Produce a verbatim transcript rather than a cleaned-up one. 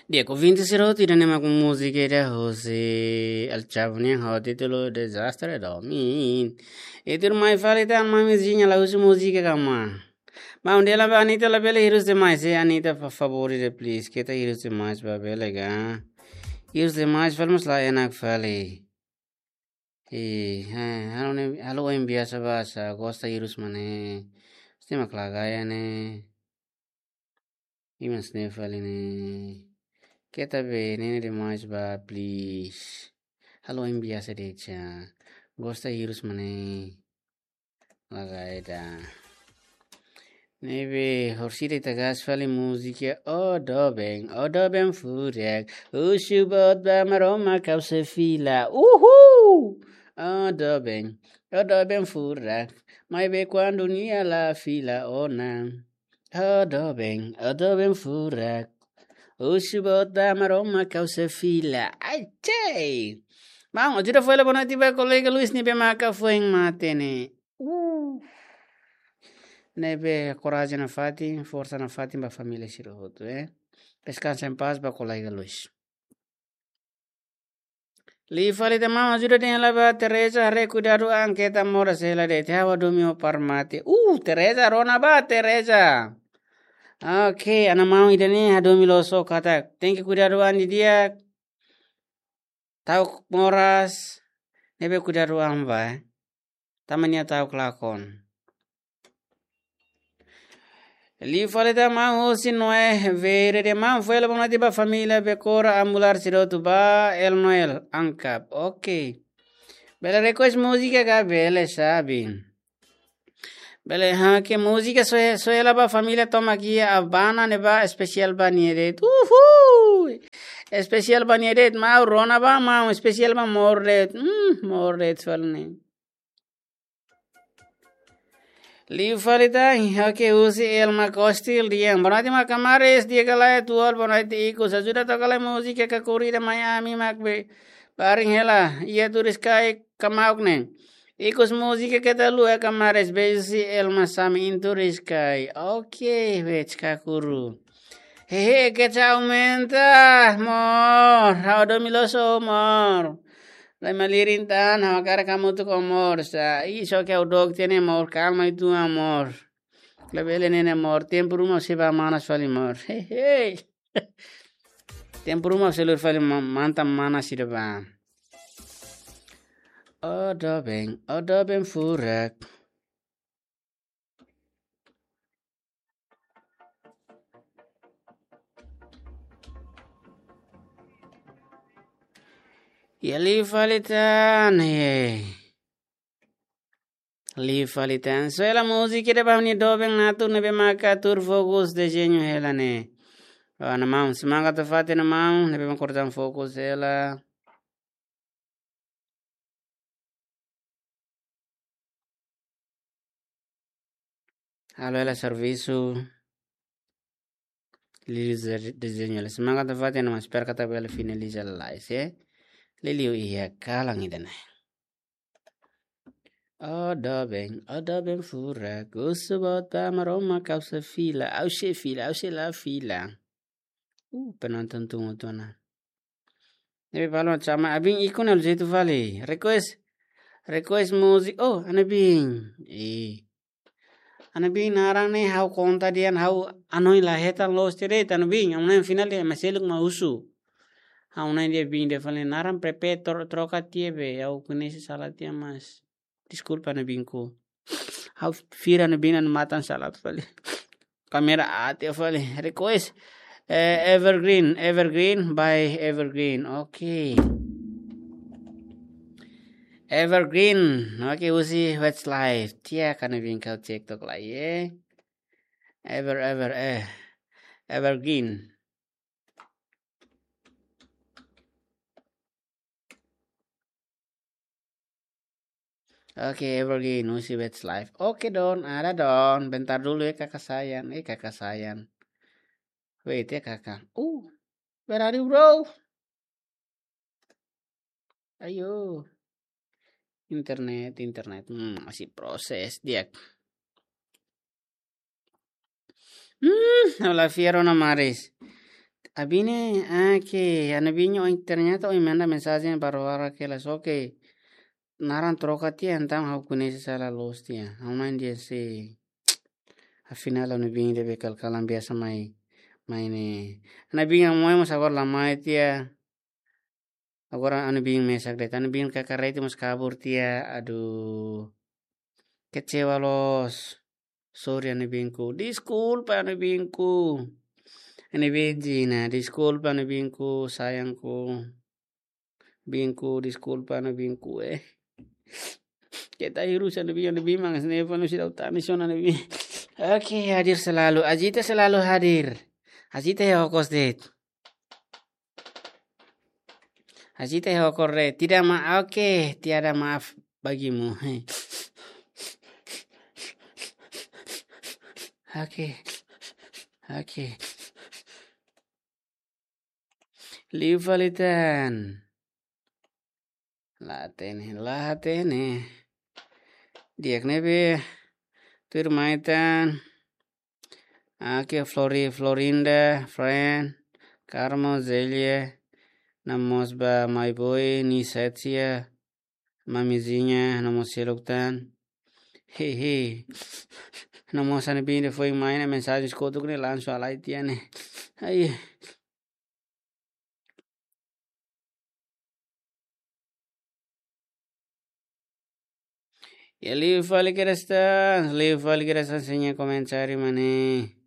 Di'ak, ouvinte sira hotu, ida-ne'e mak múzika ida husi El Chavo nian ho títulu Desastre Domin. I tuirmai fali tan, Mamizinha la husu múzika kama. Maun, dehan ba Anitta labele hirus demais, eh, Anitta, por favor, ida please. Keta hirus demais ba, bele ka? Hirus demais fali mós la enak fali. Eh, eh, halo ne'e, halo oin biasa ba, sá gosta hirus mak ne'e. Stima klagaya ne'e. Imas ne'e fali ne'e. Keta be, ne'e ne'e demais ba, please. Halo oin biasa de'it sá. Gosta hirus mak ne'e. Laga ida. Ne'ebé, horisehik ita gas fali múzika, ó doben, ó doben furak. Husu boot ba Maromak ha'u sei fila. Uhul! Ó doben, ó doben furak. Maibé kuandu nia la fila ona. Ó doben, ó doben furak. Husu boot ba Maromak ha'u sei fila. Ai, cei! Maun, ajuda fó hela boa noite ba kolega Luis ne'ebé maka foin mate ne'e. Uh. Ne'ebé korajen nafatin, forsa nafatin ba família sira hotu, eh. Descansa em paz ba kolega Luis. Liu fali tan, maun, ajuda dehan hela ba Teresa, haree kuidadu an, keta moras hela de'it, ha'u hadomi ó para mate. Uh, Teresa, rona ba, Teresa. Oke, ana maun ida-ne'e hadomi loos ó katak tenke kuidadu an didi'ak. Ta'uk moras, ne'ebé kuidadu an ba, eh. Tanba nia ta'uk lakon. Liu fali tan, maun husi Noé Verde, maun, fó hela boa noite ba família Bekora Amular sira hotu ba El Noel Ankap. Oke. Bele request múzika ka bele, sabe? Bele, ha, ke múzika só, só hela ba família tomak iha Abana ne'ebá, espesiál ba nia de'it. Uhul! Espesiál ba nia de'it, maun, rona ba, maun, espesiál ba Mor de'it. Hmm, Mor de'it fali ne'e. Liu fali tan, oke, husi Elma Kostil dehan. Boa noite, mak Kamares, di'ak ka lae, tual, boa noite, ikus. Ajuda toka lai múzika Kakuri ida mai ami mak be. Baring hela, iha Turiscai kamauk ne'e. Ikus múzika keta haluha, Kamares, beijo husi Elma Sami iha Turiscai. Oke, wets Kakuru. Hehe, keta aumenta, amor. Ha'u hadomi loos ó, amor. Lai malirin tan, ha'u hakarak hamutuk ho amor. Sá, ih, só ke ha'u dook tiha ne'e, amor. Kalma uitoan, amor. Labele ne'e ne'e, amor. Tempu ruma sei bá manas fali, amor. Hehe. Tempu ruma sei lori fali ma-, mantan manas sira bá. Ó doben, ó doben furak. Iha liu fali tan, eh. Liu fali tan. Só hela múzika ida ba ha'u-nia doben Natu ne'ebé maka tuur fokus dezeñu hela ne'e. Ó, ana maun, semangat nafatin, ana maun, ne'ebé maka kortan fokus hela. Halo hela servisu. Liu dezeñu, dezeñu hela. Semangat nafatin, ana maun, espera katak bele finaliza lalais, eh. Liuliu iha kalan ida-ne'e. Ó doben, ó doben furak, husu boot ba Maromak ha'u sei fila, ha'u sei fila, ha'u sei la fila. Uh, penonton tunggu tona. Ne'ebé balon sama abin ikun halo jeitu fali. Request, request múzika. Oh, ana bin. Eh. Ana bin naran ne'e ha'u konta dehan ha'u hanoin la hetan loos tiha de'it, ana bin. Ha'u-nia final de'it, mas seluk mak husu. Ha'u-nia dehan bin de'it fali naran Pepe tro-, troka tiha be. Ha'u koñese sala tiha, mas deskulpa, ana bin ku. Ha'u fiar, ana bin, ha'u-nia matan sala fali. Kamera aat tiha fali. Request. Eh, Evergreen, Evergreen by Evergreen. Oke. Evergreen. Oke, husi Westlife. Tiha, ana bin, kau cek tok lai, eh. Ever, ever, eh. Evergreen. Oke, Evergreen, husi Westlife. Oke, Don, ada, Don. Bentar dulu ya, kakak sayang. Eh, kakak sayang. Wait ya, kakak. Uh, where are you, bro? Ayo. Internet, internet. Hmm, masih proses dia. Hmm, ha'u la fiar ona maris. Abine, ah, ke, anu bin, oh, ternyata, oh, manda mensajen baru-baru ke la soke. Naran troka tiha, entaun ha'u koñese sala loos tiha. Ha'u main dia se. Afinál, anu bin de'it be kal-kalan biasa mai, mai ne'e. Anu bin yang mau masa agora la mai tiha. Agora anu bin mesak de'it, anu bin kakarete mós kabur tiha, aduh. Kecewa loos. Sorry anu binku. Deskulpa anu binku. Anu bin Jina, deskulpa anu binku, sayangku. Binku, deskulpa anu binku, eh. Keta hirus anu bin, anu bin mangas ne panu sidau tani son anu bin. Oke, hadir selalu. Ajita selalu hadir. Ajita ya hokos de'it. Ajita ya hokor de'it. Tidak ma-, oke, tiada maaf bagimu. Oke. Oke. Liu fali tan. La hatene, la hatene. Di'ak ne'ebé tuir mai tan. Oke, Flori, Florinda, Fran, Carmo, Zelia, no mós ba Maiboi, Nicetia, Mamizinha, no mós seluk tan. Hehe. No mós anu bin de'it foin mai ne'e mensajen kotuk ne'e langsung halai tiha ne'e. Ai. Ya liu fali kedas tan, liu fali kedas tan, seña komentáriu mane.